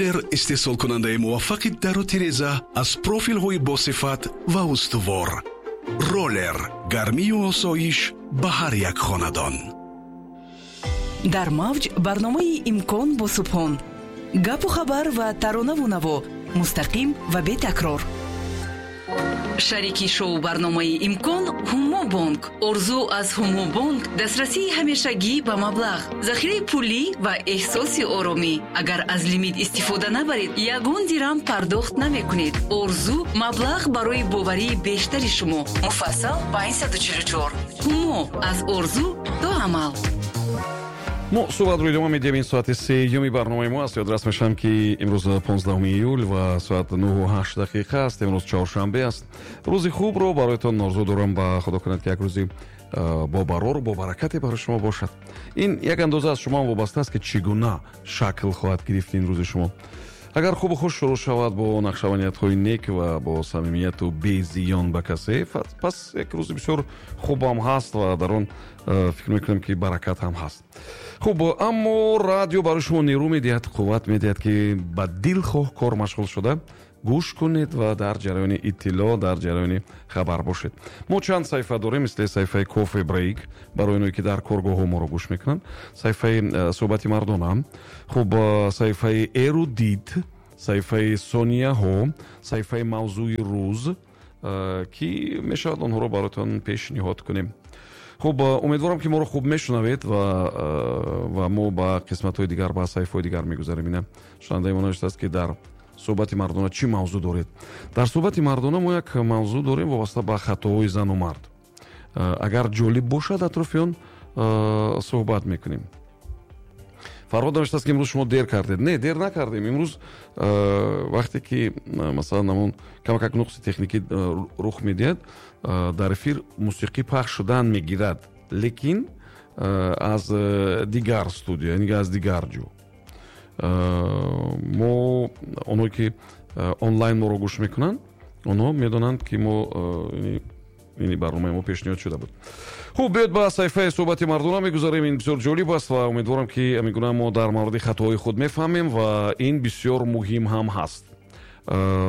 Роллер, истеҳсолкунандаи муваффақи дару тиреза аз профилҳои босифат ва устувор. Роллер, гармию осоиш ба ҳар як хонадон. Дар мавҷ барномаи «Имкон» бо Субҳон: гапу хабар ва таронаву наво, мустақим ва бетакрор. Шарики шоу барномаи «Имкон» Ҳумо Бонк. Орзу аз Ҳумо Бонк: дастрасии ҳамешагӣ ба маблағ, захираи пулӣ ва эҳсоси оромӣ. Агар аз лимит истифода набаред, ягон дирам пардохт намекунед. Орзу: маблағ барои боварии бештари шумо. Муфассал 544. Ҳумо: аз орзу то амал. Мо суҳбатро идома медиҳем. Ин соати сеюми барномаи мо аст. Ёдрас мешавам, ки имрӯз 15 июл ва соат 9:08 аст. Имрӯз чоршанбе аст. Рӯзи хубро бароятон орзу дорам. Ба Худо кунад, ки як рӯзи бобарору бобаракате барои шумо бошад. Ин як андоза аз шумо вобаста аст, ки чӣ гуна шакл хоҳад гирифт ин рӯзи шумо. Агар хубу хуш шурӯъ шавад, бо нақшаву ниятҳои нек ва бо самимияту безиён ба касе, пас як рӯзи бисёр хубам ҳаст ва дар он фикр мекунам, ки баракат ҳам ҳаст. Хуб, аммо радио барои шумо нерӯ медиҳад, қувват медиҳад, ки ба дилхоҳ кор машғул шуда гӯш кунед ва дар ҷараёни иттилоъ, дар ҷараёни хабар бошед. Мо чанд саҳифа дорем, мисли саҳифаи Кофе Брейк барои оное, ки дар коргоҳҳо моро гӯш мекунанд, саҳифаи «Суҳбати мардона», хуб, саҳифаи Эрудит, саҳифаи Сонияҳо, саҳифаи Мавзӯи рӯз, ки мешавад онҳоро бароятон пешниҳод кунем. Хуб, умедворам, ки моро хуб мешунавед ва мо ба қисматҳои дигар, ба саҳифаҳои дигар мегузарем. Ина шунавандаи мо навиштааст, ки дар «Суҳбати мардона» чӣ мавзӯъ доред? Дар «Суҳбати мардона» мо як мавзӯъ дорем, вобаста ба хатоҳои зану мард. Агар ҷолиб бошад, атрофи он суҳбат мекунем. Фарҳод навиштааст, ки имрӯз шумо дер кардед. Не, дер накардем. Имрӯз вақте ки, масалан, ҳамон камакак нуқси техникӣ рух медиҳад, дар эфир мусиқӣ пахш шудан мегирад, лекин аз дигар студия, яъне аз дигар ҷо. Мо онҳое, ки онлайн моро гӯш мекунанд, онҳо медонанд, ки мо ини барномаи мо пешниҳод шуда буд. Хуб, биёед, ба саҳифаи «Суҳбати мардона» мегузарем. Ин бисёр ҷолиб аст ва умедворам, ки ҳамин гуна мо дар мавриди хатоҳои худ мефаҳмем ва ин бисёр муҳим ҳам ҳаст.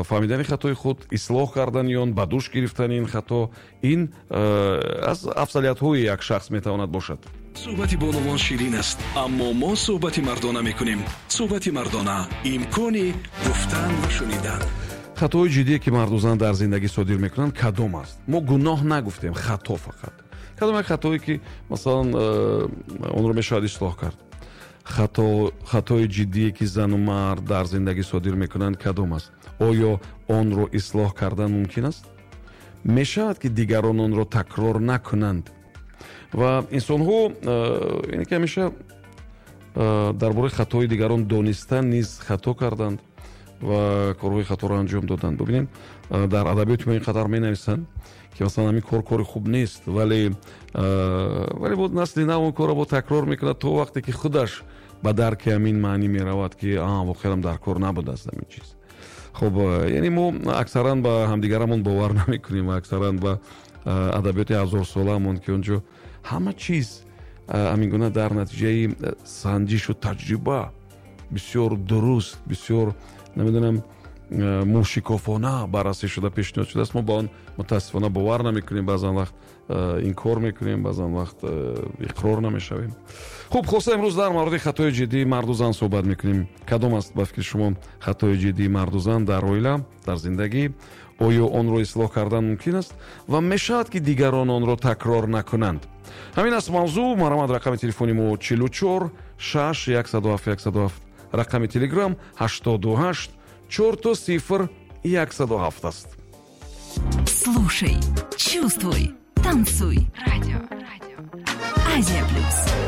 Фаҳмидани хатои худ, ислоҳ кардани он, ба дӯш гирифтани ин хато, ин аз афзалиятҳои як шахс метавонад бошад. Суҳбати бонувон ширин аст, аммо мо суҳбати мардона мекунем. «Суҳбати мардона», имкони гуфтан ва шунидан. Хатоҳои ҷиддие, ки марду зан дар зиндагӣ содир мекунанд, кадом аст? Мо гуноҳ нагуфтем, хато фақат. Кадом як хатое, ки, масалан, онро мешавад ислоҳ кард? Хатои ҷиддие, ки зану мард дар зиндагӣ содир мекунанд, кадом аст? Оё онро ислоҳ кардан мумкин аст? Мешавад, ки дигарон онро такрор накунанд? Ва инсонҳо яъне ки ҳамеша дар бораи хатои дигарон донистан низ хато карданд ва корҳои хаторо анҷом доданд. Бубинем, дар адабиёти мо ин қадар менависанд, ки, масалан, ҳамин кор кори хуб нест, вале боз насли нав он корро бо такрор мекунад, то вақте ки худаш ба дарки ҳамин маънӣ меравад, ки воқеан дар кор набудааст ҳамин чиз. Хуб, яъне мо аксаран ба ҳамдигарамон бовар намекунем ва аксаран ба адабиёти ҳазорсолаамон, ки он ҷо ҳама чиз ҳамин гуна дар натиҷаи санҷишу таҷриба бисёр дуруст, бисёр, намедонам, мушикофона баррасӣ шуда пешниҳод шудааст, мо ба он мутаассифона бовар намекунем, баъзан вақт инкор мекунем, баъзан вақт иқрор намешавем. Хуб, хулоса, имрӯз дар мавриди хатои ҷиддии марду зан суҳбат мекунем. Кадом аст, ба фикри шумо, хатои ҷиддии марду зан дар оила, дар зиндагӣ? Оё онро ислоҳ кардан мумкин аст ва мешавад, ки дигарон онро такрор накунанд? Ҳамин аст мавзӯъ. Марҳамат, рақами телефони мо 44 6 107 107, рақами Телеграм 88 000 107 аст. Слушай, чувствуй, танцуй. Радио Азия Плюс.